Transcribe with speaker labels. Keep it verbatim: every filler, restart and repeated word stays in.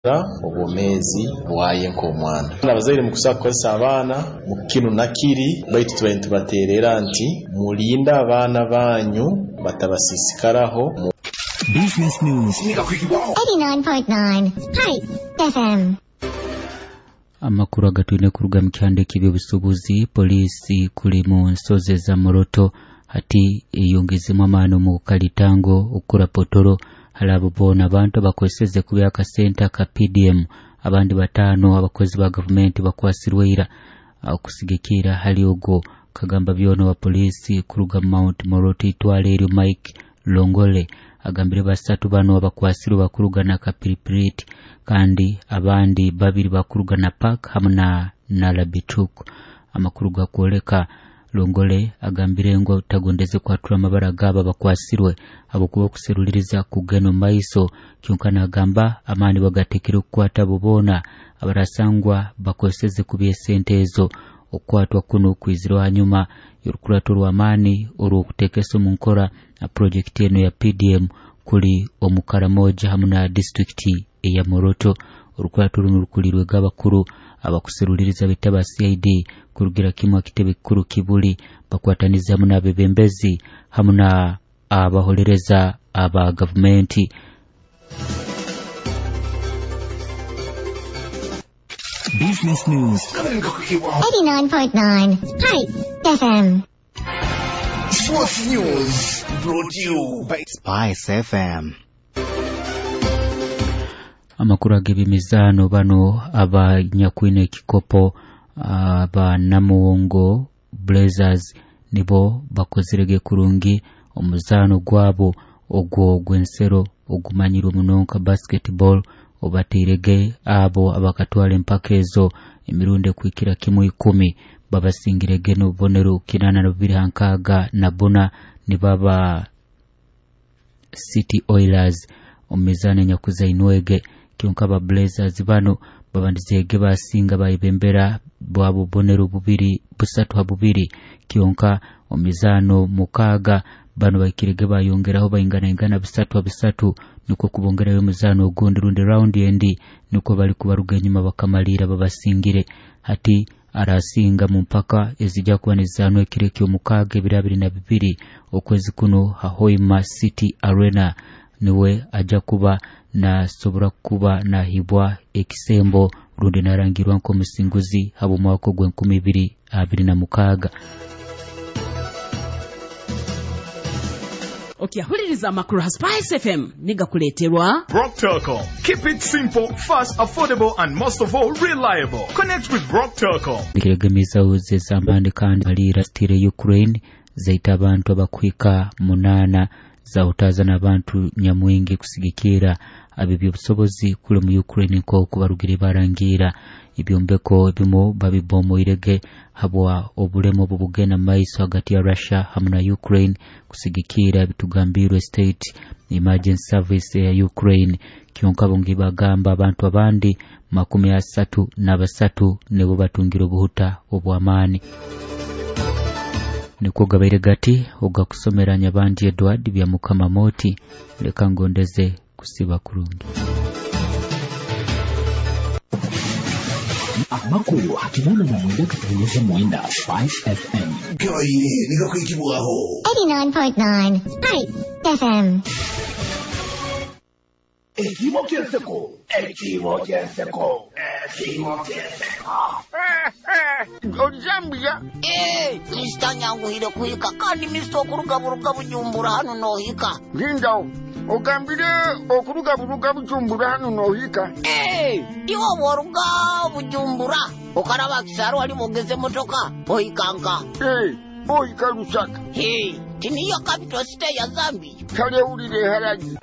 Speaker 1: Obwomeezi bwaye nk'omwana. Abazaire mukusobola kukozesa abaana mu kinu na kiri, baitu tubaire nitubateererra nti mulinde abaana banyu batabasiisikaraho.
Speaker 2: Business News.
Speaker 3: eighty-nine point nine Spice F M.
Speaker 4: Amakuru agatwine kuruga mu kyanda eky'ebyobusuubuzi, poliisi kuli mu nsozi za Moroto hati eyongezemu amaani omu kalitango okukura potoro hali abo boona abantu abakozeseze kubi akasente aka P D M. Abandi bataano abakozi ba gavumenti bakwasirwe ira okusigikira hali ogwo kagamba byona wa poliisi kuruga mu Mount Moroto itwale eryo Mike Longole agambire basatu bano abakwasirwe bakuruga na Kapiripiriti kandi abandi babiri bakuruga na Park hamu na Nalabituk. Amakuru gakwoleka Longole agambire ngu tagondeze kwatura amabara gabo abakwasirwe habwokuba okuseruliriza kugenda omu maiso, kyonka nagamba amaani bagatekere okukwata abo boona abarasangwa bakozeseze kubi esente ezo. Okukwatwa kuno kwizire hanyuma y'orukurato rw'amaani orw'okuteekesa omu nkora purojekiti eno ya P D M kuli omu Karamoja hamu na disitulikiti eya Moroto. Orukurato runo rukulirwege abakuru abakuseruliriza bita ba C I D kurugira kimu akitebe kikuru Kibuli, bakwatanize hamu n'abebembezi hamu na abaholereza aba gavumenti.
Speaker 2: Business News.
Speaker 3: eighty-nine point nine Spice F M.
Speaker 5: Sports News brought to you by
Speaker 6: Spice F M.
Speaker 4: Amakuru ag'ebyemizaano, bano abanyakwine ekikopo aba Namuwongo Blazers nibo bakozerege kurungi omuzaano gwabo ogwo gw'ensero ogumanyirwe muno nka basketball, obateirege abo abakatwara empaka ezo emirundi ekuhikira kimu ikumi, babasingirege n'obubonero kinaana na bubiri ha nkaaga na buna, nibaba City Oilers omu mizaano enyakuzainwege. Kyonka aba Blazers bano babandizege basinga bayebembera bwa bubonero bubiri busatu ha bubiri, kyonka omu mizaano mukaaga bano bahikirege bayongeraho bainganaingana busatu ha busatu, nukwo kubongerayo omuzaano ogundi rundi raundi endi, nukwo bali kubaruga enyuma bakamalira babasingire. Hati arasinga mu mpaka ezijja kuba nizizaanwa ekiro ekyomukaaga ebiro abiri na bibiri okwezi kuno ha Hoima City Arena niwe ajja kuba nasobora kuba nahibwa ekisembo rundi narangirwa nk'omusinguzi habw'omwaka ogw'enkumi ibiri abiri na mukaaga.
Speaker 7: Okyahuliriza amakuru ha Spice F M nigakuleeterwa
Speaker 8: Brock Telecom. Keep it simple, fast, affordable, and most of all, reliable. Connect with Brock Telecom.
Speaker 4: Kiregemizaho zezambandi kandi malira stire Ukraine zaita abantu abakuhika munaana, zawutaza n'abantu nyamwingi kusigikira ab'ebyobusobozi kuli mu Ukraine nk'oku barugire barangira ebyombeko ebimu babibomoirege habwa obulemu obu bugenda mu maiso hagati ya Russia hamu na Ukraine, kusigikira bitugambirwe State Emergency Service ya Ukraine. Kyonka bongi bagamba abantu abandi makumi asatu na basatu nibo batungire obuhuta obw'amaani. Nikwo gabaire gati ogakusomera Nyabandi Edward bya Mukama Moti. Leka ngondeze kusiba kurungi.
Speaker 2: Amakuru hakinana na mwenda katunyuze mwenda Spice F M.
Speaker 5: Gabaire nigakwikibwaho.
Speaker 3: eighty-nine point nine Spice F M.
Speaker 5: Ekimo ky'enseko, ekimo ky'enseko, ekimo ky'enseko.
Speaker 9: Ojambia.
Speaker 10: Eh, Mister nyanguhire kuhika kandi Mister okuruga buruga Bujumbura hano nohika.
Speaker 9: Ngindawo ogambire okuruga buruga Bujumbura hano nohika.
Speaker 10: Eh, iwe bworuga Bujumbura okaraba Kisaro wali bogeze motoka ohikanka.
Speaker 9: Eh, ohika Lusaka.
Speaker 10: He, tiniyo capital city ya Zambia.
Speaker 9: Kale wulire haragi.